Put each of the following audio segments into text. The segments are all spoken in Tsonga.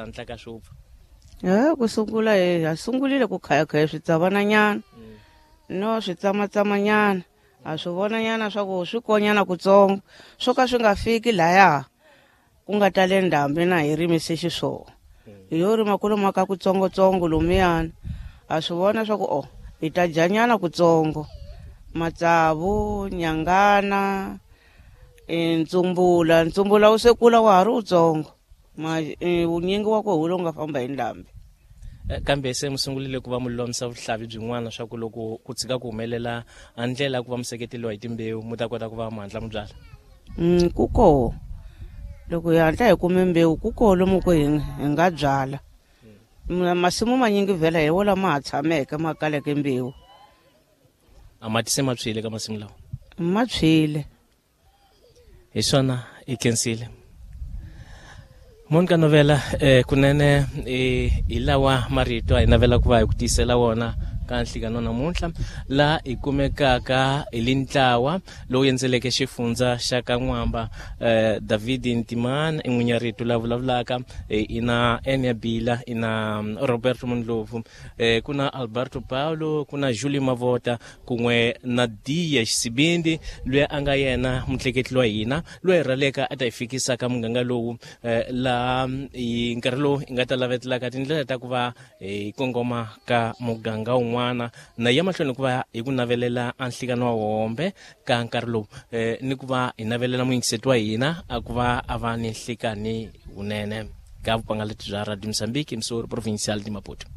Hatlaka swi wupfa. Ku sungula hi ha sungulile ku khayakhaya switsavananyana no swi tsamatsamanyana, ha swi vonanyana swa ku swi konyana kutsongo, swo ka swi nga fiki laya ku nga tale ndhambi na hi rimise xiswona. Hi yo rima kwalomu ka kutsongotsongo lomuyana, ha swi vona swa ku o hi ta dyanyana kutsongo, matsavu, nyangana, ntsumbula. Ntsumbula wu se kula wa ha ri wutsongo, wunyingi wa koho lowu nga famba hi ndhambi. Kambe se mi sungulile ku va mi lulamisa vuhlavi byin'wana swa ku loko ku tshika ku humelela a ndlela ya ku va mi seketeriwa hi timbewu, mi ta kota ku va mi hatla mi byala? Ku koho loko hi hatla hi kume mbewu, ku koho lomu ku hi nga byala. Masimu manyingi vhela hi wo lama ha tshameke ma kaleke mbewu. A mati se ma tshwile ka masimu lawa? Ma tshwile. Hi swona, i khensile Monica Novela. Kunene hi lawa marito a hi navela ku va hi ku tiyisela wona ka nhlikano namuntlha, laha hi kumekaka hi li ntlawa lowu endzeleke xifundza xa ka N'wamba. David Ntimana i n'winyi rito la vulavulaka, ina Enia Bila, ina Roberto Mundlovu, ku na Alberto Paulo, ku na Julie Mavota, kun'we na Diya Xisibindi loyi a nga yena mutleketli wa hina loyi hi rhaleka a ta hi fikisa ka muganga lowu, laha hi nkarhi lowu hi nga ta lavetelaka tindlela ta ku va hi kongoma ka muganga wun'wana na ya mahlweni ku va hi ku navelela a nhlikano wa hombe ka nkarhi lowu, ni ku va hi navelela muyingiseti wa hina a ku va a va ni nhlikani wunene ka vupangaleti bya Radio Mozambique, Emissora Provincial de Maputo.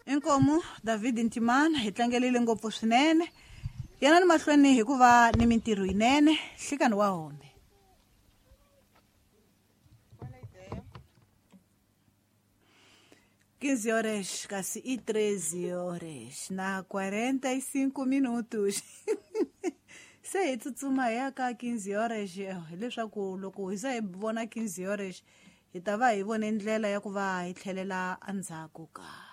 Inkomu David Ntimana, hi tlangelile ngopfu swinene. Yanani mahlweni hikuva ni mintirho yinene. Nhlikani wa hombe. 15 horas, kasi e 13 horas na 45 minutos. Se hi tsutsuma hi ya ka 15 horas, hileswaku loko hi za hi vona 15 horas hi ta va hi vone ndlela ya ku va hi tlhelela endzhaku ka.